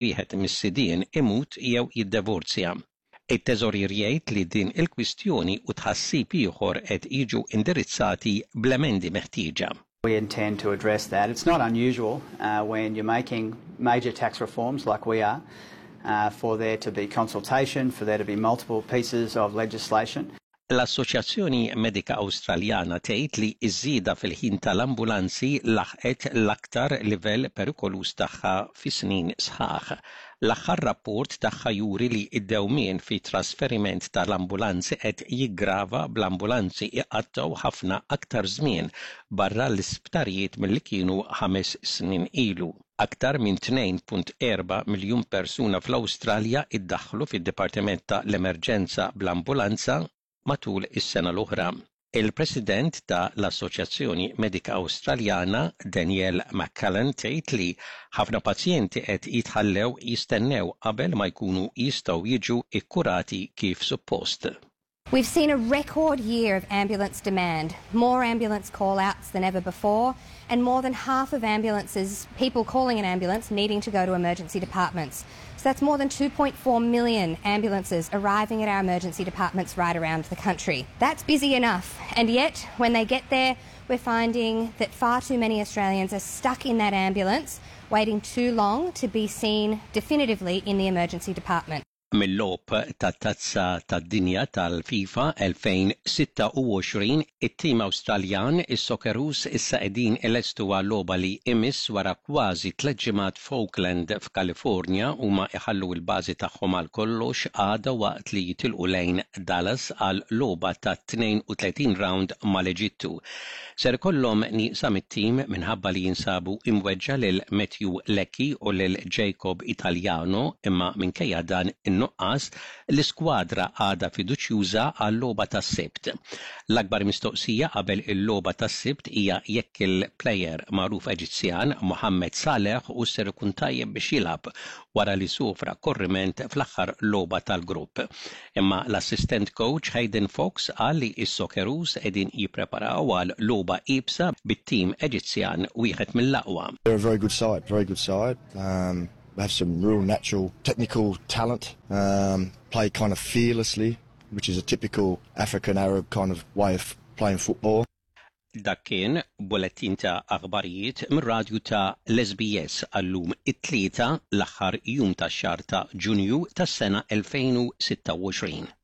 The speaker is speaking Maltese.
wieħed mis-sidien imut jew jiddevorzja. It-Teżorier jgħid li din il-kwistjoni u tħassib ieħor qed jiġu indirizzati bl-emendi meħtieġa. We intend to address that. It's not unusual when you're making major tax reforms like we are for there to be consultation, for there to be multiple pieces of legislation. L-Assoċjazzjoni Medika Awstraljana tgħid li ż-żieda fil-ħin tal-ambulanzi laħqet l-aktar livell perikoluż tagħha fi snin sħaħ. L-aħħar rapport tagħha juri li d-dewmien fit-trasferiment tal-ambulanzi qed jiggrava bl-ambulanzi iqattgħu ħafna aktar żmien barra l-isptarijiet milli kienu ħames snin ilu. Aktar minn 2.4 miljun persuna fl-Awstralja iddaħħlu fid-dipartiment ta' l-emerġenza bl-ambulanza matul is-sena l-oħra. Il-President ta' l-Assoċjazzjoni Medika Awstraljana, Danielle McCallan tgħid li ħafna pazjenti qed jitħallew jistennew qabel ma jkunu jistgħu jiġu kkurati kif suppost. We've seen a record year of ambulance demand, more ambulance call-outs than ever before, and more than half of ambulances, people calling an ambulance, needing to go to emergency departments. So that's more than 2.4 million ambulances arriving at our emergency departments right around the country. That's busy enough, and yet when they get there, we're finding that far too many Australians are stuck in that ambulance, waiting too long to be seen definitively in the emergency department. Mil-logħob tat-Tazza tad-Dinja tal-FIFA 2026, it-tim Awstraljan, is-Socceroos issa qegħdin ilestu għal-logħba li imiss wara kważi tlett ġimgħat f'Oakland f'Kalifornja. Huma iħallu l-bażi tagħhom għal kollox għada waqt li jitilqu lejn Dallas għal logħba tat-32 round mal-Eġittu. Ser ikollhom nieqsa mit-tim minħabba li jinsabu imweġġa' lil Matthew Leckie u lil Jacob Italiano imma minkejja dan in-nuqqas, l-iskwadra għadha fiduċjuża għal-logħba tas-Sibt. L-akbar mistoqsija qabel il-logħba tas-Sibt hija jekk il-plejer magħruf Eġizzjan, Mohamed Saleh hux ser ikun tajjeb biex jilgħab wara li sofra korriment fl-aħħar logħba tal-grupp. Imma l-assistent coach Hayden Fox qal li s-Socceroos qegħdin jippreparaw għal logħba iebsa bit-tim Eġizzjan wieħed mill-aqwa. They're a very good side, very good side. Um, they have some real natural technical talent, um, play kind of fearlessly, which is a typical African Arab kind of way of playing football. Dak kien bulettin ta' aħbarijiet mir-radju ta' l-SBS għal-lum it-Tlieta l-aħħar jum tax-xahar ta' Ġunju tas-sena 2026.